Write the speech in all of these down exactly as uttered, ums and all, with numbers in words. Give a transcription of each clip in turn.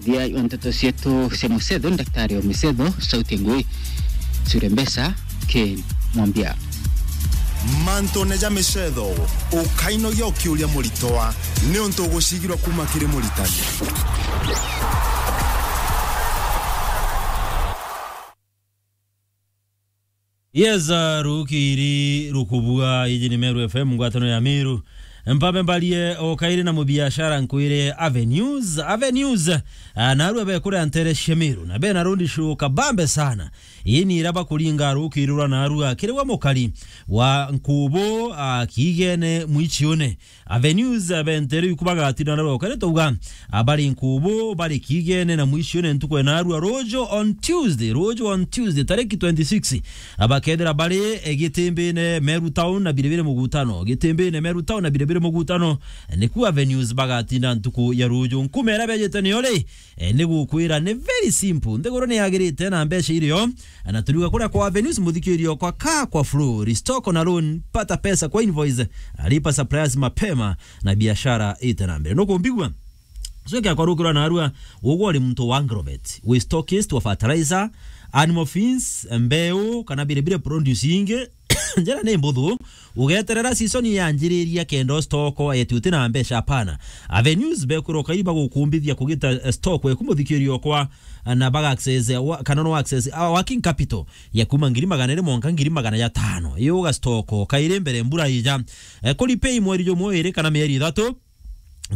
Thia wa nteto cietu cia mucetho, Daktari wa mucetho, Sauti Ngui, Cure Mbeca, Ken Mwambia. Mantune ja micetho, ukainogia ukiuria muritwa, niuntu ugucigirwa kuma kiri muritani. Yes, uh, rukiri rukubua, iji ni Meru F M, ngwatano ya Meru. Mpambe mbarie o kairi na mubiashara nkwire Avenues. Avenues, uh, narua be kuria ntere cia Meru, na be na road show kabambe sana. Ii ni ira bakuringa rukiri rwa narua kiri we mukari wa Nkubu, uh, Kiigene Mwichiune. Avenues, abentere iku bagatina na rokare touga, abari Nkubu, bari Kiigene na Mwichiune ntuku ya narua ruju on Tuesday, ruju on Tuesday, tariki twenty-six. Abakethira bari, eh, Gitimbine Meru Town na biribiri mugutano. Gitimbine Meru Town na biribiri mugutano. Niku Avenues bagatina ntuku ya ruju. Nkume ira bejete niyo ri, eh, ni gukwira ni very simple. Nthiguru ni yagirite na mbeca irio. Na turiuga kuria kwa Avenues, muthikirio kwa kaa kwa flow, restock na loan, pata pesa kwa invoice, lipa suppliers mapema, na biashara ite na mbere. Nukumbigua? So kia kwa rukirwa narua, ugwe uri muntu wa agrovet, wi stockist wa fertilizer, animal feeds, mbeu, kana biribiri produce ingi, njira ni mbuthu, ugeterera season yanjiriria kenda stock eti uti na mbeca, hapana. Avenues bekwira ukai bagukumbithia kugita, eh, stock eku muthikirio kwa, na baga access, eh, wa-, kana no access, ah, working capital ya kuma ngiri magana iri mwanka ngiri magana jatano. Iyo uga stock kairi mbere mbura ija. Eh, kuri pay mweri jumwe iri kana mieri ithatu.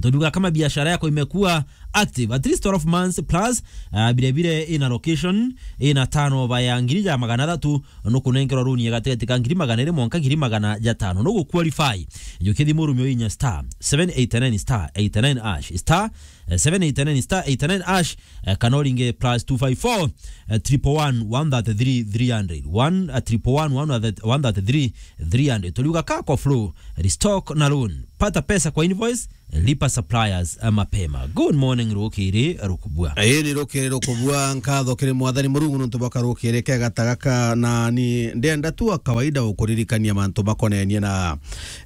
Tujuga kama biashara yako imekuwa active at least twelve months plus, ah, vile vile ina location, ina turnover ya ngiri ja magana athatu, nukunenkerwa loan ya gatigati ka ngiri magana iri mwanka ngiri magana jatano. Nugu qualify. Jukithi murumio inya star seven eight nine star eight nine hash, star, eh, seven eight nine star eight nine hash, eh, kana uringe plus two five four, eh, triple one, one thirty-three, three hundred. One, eh, triple one, one thirty-three, three hundred. Turiuga kaa kwa flow, restock na loan. Pata pesa kwa invoice, lipa suppliers, eh, mapema. Good morning, rukiri rukubua. Ii ni rukiri rukubua, nkatho kiri Mwathani Murungu nontu bwa karukiri kega ta gaka, na ni ndenda tu a kawaida gukuririkania mantu makonenie na,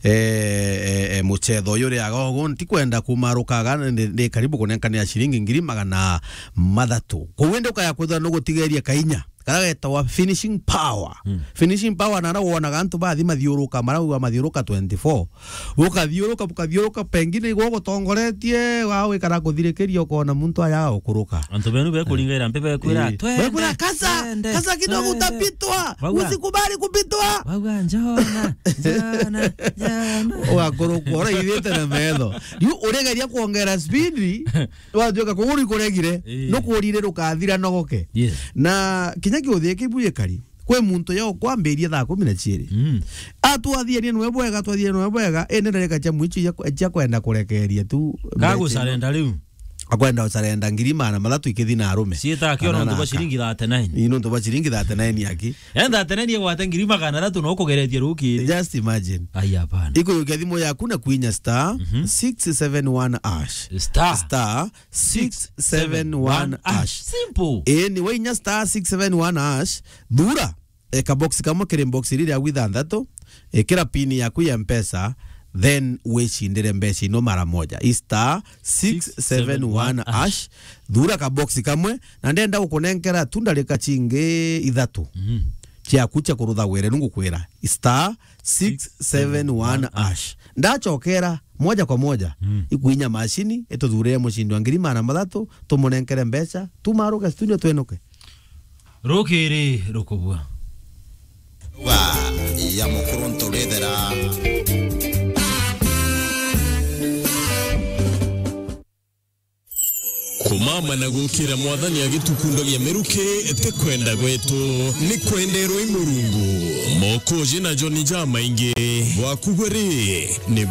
eh, eh, eh, mucetho uyu uri aga ugu. Ntikwenda kumarukaga, ndi, ndi karibu kunenkanira ciringi ngiri magana mathatu. Kou indi ukaya kwithirwa nugutigeria kainya. Karia getawa finishing power. Mm. Finishing power, nara wonaga antu bathi mathiuruka, marauga mathiuruka twenty-four. Ukathiuruka, ukathiuruka, pengine igwe ugutongoretie, wa wikara kuthirikiria, ukona muntu aya ukuruka. Antu benu bekuringaira mpe bekwira, eh, "Twende, bekwira, "Kasa, twende, kasa kidogo, twende." Utapitwa. Bauga. Usikubali kupitwa. Bauga, "Njona, njona, njona." Ugakurukwa, uraithite na metho. Riu urigeria kuongera speed, watuika kuguru ikuregire, eh, nukurire rukathira nogoke. Yes. Na kinya kiuthie kibu gikari, kwi muntu yo kwambiria thaa kumi na ciiri. Mm. Atwathianie nwe bwega, atwathianie nwe bwega, indi ndarika cia mwicho cia, cia kwenda kurekeria tu. Kagucarenda riu. Akwenda gucarenda ngiri magana mathatu ikithi na arume. Ciita akio nontu bwa ciringi thirty-nine. Ii, nontu bwa ciringi thirty-nine aki. Yaani thirty-nine igwate ngiri magana athatu no kugeretie rukiri. Just imagine. Ai, hapana. Ikuyukia thimu yaku na kwinya star, mhm, six seven one hash. Star. Star six seven one hash. Simple. Ii, ni wainya star six seven one hash, thura, eh, kabox kamwe kiri box iri ria ithanthatu, ikira pin yaku ya Mpesa, then wicindire mbeca ino mara moja. I star six seven one hash, thura kabox kamwe, na ndenda gukunenkera tu ndarika cingi ithatu, mhm, ciaku cia kurutha wire, nu ngukwira, star six seven one hash. Ndacokera moja kwa moja, mm, ikwinya macini, ituthurire mucindi wa ngiri magana mathatu, tumunenkere mbeca, tumaruke studio twenuke. Rukiri rukubua. Wa ya mukuru nturithera. Kumama na gukira Mwathani agitukundagia miruki ti kwenda gwetu, ni kwenderwa i Murungu. Mokoji na Joni jamaingi, bwaku bwe ri, ni